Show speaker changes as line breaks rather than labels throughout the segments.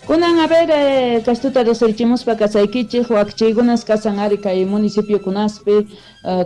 Kunan, a ver, kastuta riqsirichimuspa kasaykichik, wakichiykunas kasan ari kay municipiokunaspi,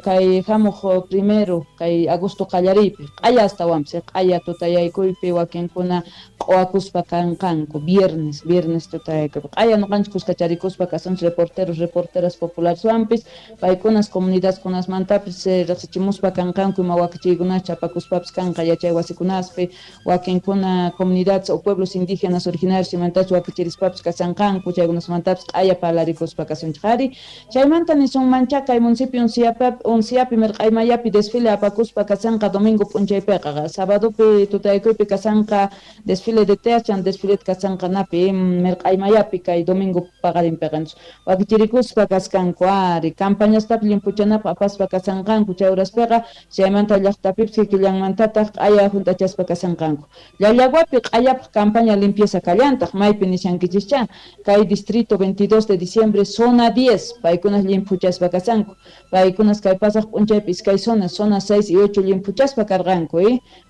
kay hamuq primero, kay agosto qallariypi, q'aya astawanpis, q'aya tutayaykuypi wakinkuna q'uwakuspa kanqanku, viernes, viernes tutayaykupi. Q'aya noqanchik kuskacharikuspa kasunchik reporteros, reporteras populareswanpis, paykunas comunidadkunasmantapis riqsichimuspa kanqanku ima wakichiykunas chapakuspapis kanqa yachay wasikunaspi, wakinkuna comunidades o pueblos indígenas originarios imantachus wakichirispapis kasanqanku, chaykunasmantapis q'aya parlarikuspa kasunchik ari. Chaymanta nisunmancha kay municipio Unciapi Mirq'aymayapi desfile apakuspa kasanqa domingo p'unchaypiqa, sabadopi tutaykuypi kasanqa desfile de teas, chan desfile kasanqa napi Mirq'aymayapi kay domingo paqarinpiqa. Wakichirikuspa kaskanku ari, campañastapis limpuchanapaq apaspa kasanqanku chay uraspiqa, chaymanta llaqtapipis kikillanmantataq q'aya junt'achaspa kasanqanku. Llallaguapi q'ayapaq campaña limpieza kallantaq, maypi nishankichikcha, kay distrito 22 de diciembre, zona 10, paykunas limpuchaspa kasanku. Paykunas kay pasaq p'unchaypi iskay zona, zona 6 y 8 limpuchaspa karqanku,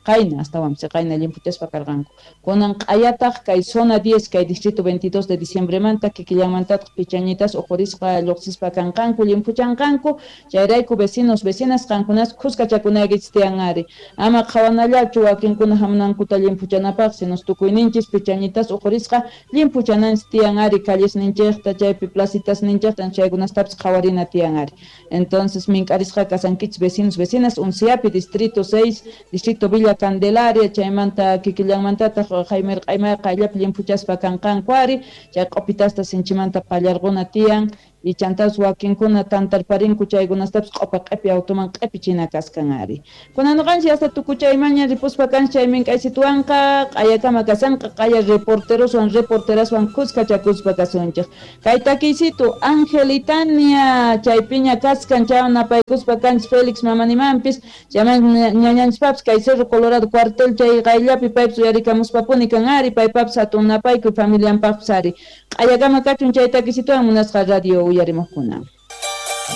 qayna astawanpis qayna limpuchaspa karqanku. Kunan q'ayataq kay zona 10, kay distrito 22 de diciembremanta kikillanmantataq pichañitas uqurisqa lluqsispa kanqanku, limpuchanqanku. Chayrayku vecinos, vecinas qankunas khuskachakunaykichis tiyan ari. Ama qhawanallachu wakinkuna hamunankuta limpuchanapaq, sino tukuyninchis pichañitas uqurisqa limpuchananchis tiyan ari callesninchikta, chaypi placitasninchikta, chaykunastapis qhawarina tiyan ari. Entonces mink'arisqa kasankichis vecinos, vecinas, Unciapi, distrito 6, distrito Villa Candelaria, chaymanta kikillanmantataq Jaime Q'aymay qayllapi limpuchaspa kanqanku ari, chay q'upitasta sinchimanta pallarquna tiyan, y chantas wakinkuna tantarparinku chaykunastapis q'upa q'ipi automan q'ipichina kaskan ari. Kunan noqanchis hasta tukuchaymaña ripuspa kanchis chay mink'aysituwanqa q'ayakama kasanqa, q'aya reporteroswan reporteraswan khuskachakuspa kasunchik. Kay takiysitu Angelitania chaypiña kaskan, chaywan napaykuspa kanchis Félix mamanimanpis, chayman ñañanchispapis kay Cerro Colorado cuartel chay qayllapi paypis uyarikamuspapuni kan ari, paypapis hatun napaykuy familianpaqpis ari. Q'ayakama kachun chay takisituwan munasqa radio uyarimuqkuna.